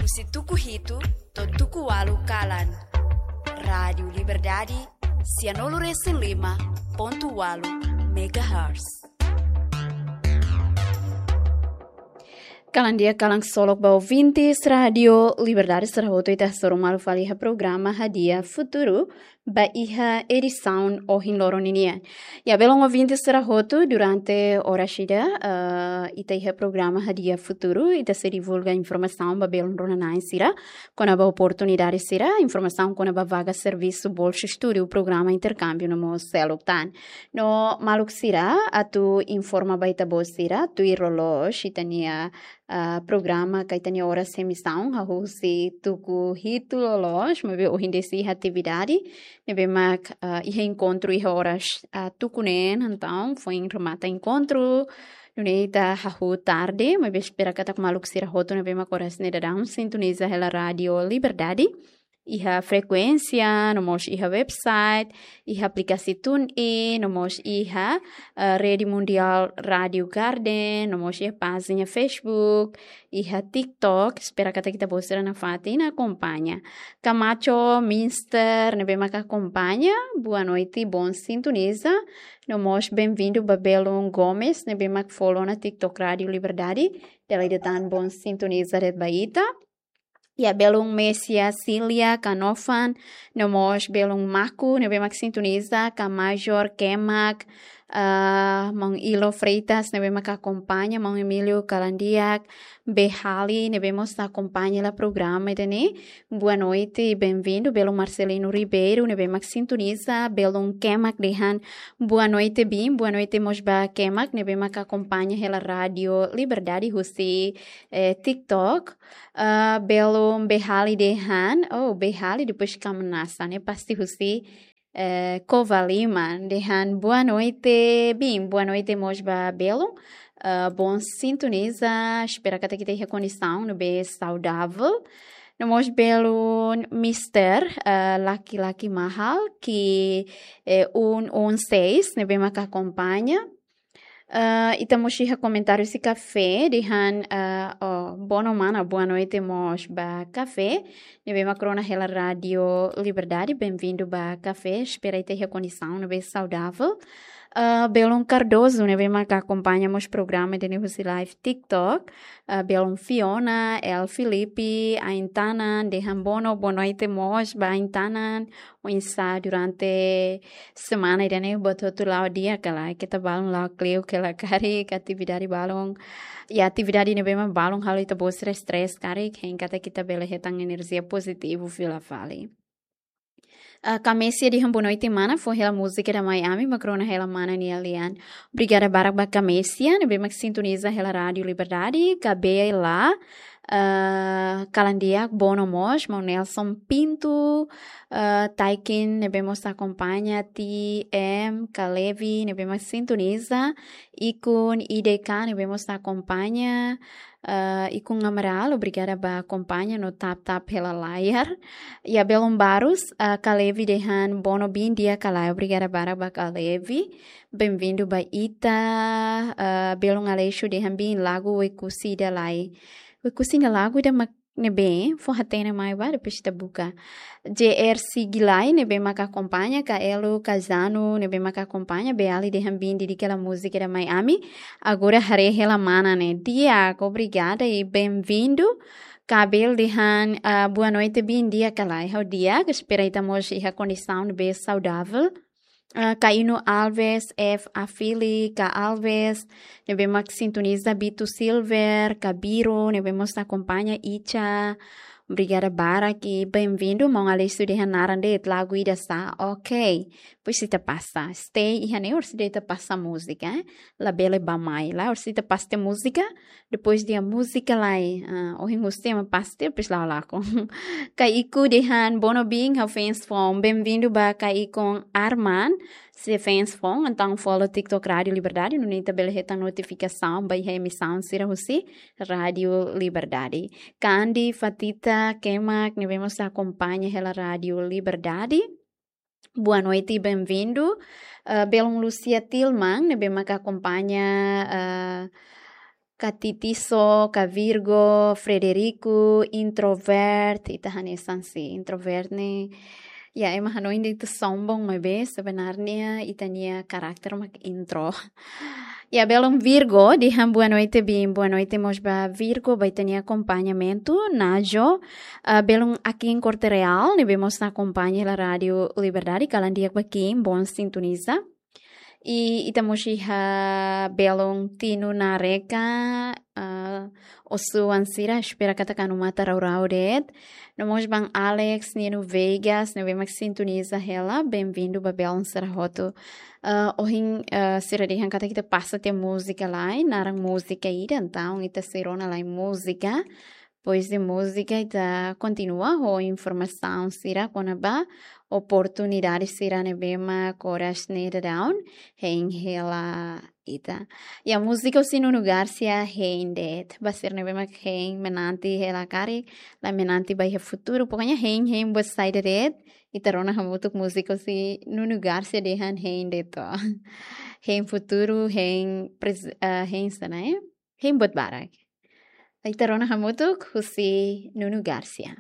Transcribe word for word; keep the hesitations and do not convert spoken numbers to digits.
Husi tuku hitu to'o tuku ualu kalan. Rádiu Liberdade, sianulu resin lima pontu ualu megahertz. Kalan di'ak, kalan ksolok ba ouvintes Rádiu Liberdade sira hotu, ita hasoru malu fali iha programa Hadi'a Futuru, ba iha edisaun ohin loron ninian. Ya, belun ouvintes sira hotu, durante oras ida, eh, ita iha programa Hadi'a Futuru, ita sei divulga informasaun ba belun rona-na'in sira, kona-ba oportunidade sira, informasaun kona-ba vaga servisu, bolsa estudu, programa interkámbiu no mós seluk tan. No maluk sira, atu informa ba ita-boot sira, tuir loloos ita-nia, ah, programa ka ita-nia oras emisaun, hahú husi tuku hitu loloos, maibé ohin de'it sei iha atividade, ne'ebé mak, ah, iha enkontru iha oras, ah, tuku neen, entaun foin remata enkontru, nune'e ita hahú tarde, maibé espera katak maluk sira hotu ne'ebé mak oras ne'e daudaun sintoniza hela Rádiu Liberdade, iha frekuénsia, no mós iha website, iha aplikasi TuneIn, no mós iha, eh, Rede Mundial Rádiu Garden, no mós iha pájina Facebook, iha TikTok, espera katak ita-boot sira nafatin akompaña. Camacho, Minster, ne'ebé mak akompaña, boa noite, bon sintoniza, no mós benvindu ba belun Gomes, ne'ebé mak follow ona TikTok Rádiu Liberdade, dala ida tan bon sintoniza de'it ba ita. Ya, belun Mesia, Cilia, Canofan, no mós belun Maku, ne'ebé mak sintoniza, ka Major, Kemak, ah, maun Ilo Freitas, ne'ebé mak akompaña, maun Emílio Kalandiak, Behali, ne'ebé mós akompaña hela programa ida-ne'e. Boa noite, benvindu, belun Marcelino Ribeiro, ne'ebé mak sintoniza, belun Kemak dehan, boa noite, bin, boa noite mós ba Kemak, ne'ebé mak akompaña hela Rádiu Liberdade husi, eh, TikTok. Ah, belun Behali dehan, oh, Behali depois Kamnasa, ne'e pasti husi, eh, Covalima, dehan boa noite, bin, boa noite mós ba belun, ah, bon sintoniza, espera katak ita iha kondisaun ne'ebé saudável. No mós belun Mister, ah, laki-laki mahal, ki, eh, un un seis, ne'ebé mak akompaña. Ah, ita mós iha komentáriu husi Kafé, dehan, ah, oh, bono mana, boa noite mós ba Kafé, ne'ebé mak rona hela Rádiu Liberdade, benvindu ba Kafé, espera ita iha kondisaun ne'ebé saudável. Ah, belun Cardoso, ne'ebé mak akompaña mós programa ida-ne'e husi live TikTok. Ah, belun Fiona, El Filipe, Aintanan, dehan bono, boa noite mós ba Aintanan, oinsá durante semana ida-ne'e, buat hotu la'o di'ak ka lae, keta balun la'o kleur ka lae, karik atividade balun. Ya, atividade ne'ebé mak balun halo ita-boot sira stress karik, hein katak ita bele hetan enerjia pozitivu fila fali. Ah, Kamesia dehan boa noite mana, fó hela múzika ida mai ami, mak rona hela mana nia lian. Obrigada barak ba Kamesia, ne'ebé mak sintoniza hela Rádiu Liberdade, ka Bela, ah, kalan di'ak, bono mós, maun Nelson Pinto, ah, Taikin, ne'ebé mós akompaña, T M, Kalevi, ne'ebé mak sintoniza, Ikun, I D K, ne'ebé mós akompaña, ah, Ikun Amaral, obrigada ba akompaña no tap-tap hela layar. Ya, belun Barus, ah, Kalevi dehan bono bin di'ak ka lae, obrigada barak ba Kalevi. Benvindu ba ita, ah, belun Aleixo dehan bin lagu Oekusi ida lai. Oekusi nia lagu ida mak ne'ebé, fó hatene mai ba, depois ita buka. J R Sigilai, ne'ebé mak akompaña, Kaelo, Kazano, ne'ebé mak akompaña, Beali dehan bin dedika hela múzika ida mai ami. Agora haree hela mana ne'e. Di'ak, obrigada i benvindu. Kabel dehan, ah, boa noite, bin di'ak ka lae, ha'u di'ak, espera ita mós iha kondisaun ne'ebé saudável. Ah, Kaino Alves, F Afili, Ka Alves, ne'ebé mak sintoniza, Bito Silver, Kabiro, ne'ebé mós akompaña, Icha. Obrigada barak i benvindu, maun Aleixo dehan naran de'it lagu ida sá. Ok. Depois ita pasa. Stay iha ne'e, orsida ita pasa múzika, eh? Labele bá-mai, la orsida ita pasa múzika. Depois de múzika lai, ah, ohin husi ema pasti, depois la'o lakon. Kaiku dehan bono bin, ha'u fans foun. Benvindu ba Kaiku Arman, sei fans foun. Entaun follow TikTok Rádiu Liberdade, nune'e ita bele hetan notifikasaun ba iha emisaun sira husi Rádiu Liberdade. Kandi Fatita Kemak, ne'ebé mós akompaña hela Rádiu Liberdade. Boa noite, benvindu. Ah, belun Lucia Tilman, ne'ebé mak akompaña, ah, Ka Titiso, ka Virgo, Frederico, introvert, ita hanesan si introvert ne'e. Ya, ema hanoin de'it ita sombong, maibé sebenarnya ita-nia karakter mak intro. Ya, belun Virgo, dehan boa noite, Bin. Boa noite mós ba Virgo, ba ita-nia akompañamentu, Najo. Ah, belun Akin Corte Real, ne'ebé mós akompaña hela Rádio Liberdade, kalan di'ak ba Akin, bom sintoniza. I ita mós iha belun Tinu Nareka, ah, osu an sira, espera katak anu matan rau-rau de'it. No mós ba Alex, Nino Vegas, ne'ebé mak sintoniza hela, bem-vindo ba belun sira hotu. Ah, ohin, ah, sira dehan katak ita pasa tiha múzika lai, naran múzika ida, entaun ita sei rona lai múzika. Depois de múzika, ita kontinua ho informasaun sira kona-ba oportunidade sira ne'ebé mak oras ne'e daudaun hein hela ita. Ya, múzika husi Nuno Garcia, hein de'it. Ba sira ne'ebé mak hein menanti hela karik, la menanti ba iha futuru. Pokoknya hein, hein buat saida de'it. Ita rona hamutuk múzika husi Nuno Garcia dehan hein de'it. Hein futuru, hein pres-, eh, hein sá ne'e? Hein buat barak. Ita rona hamutuk husi Nuno Garcia.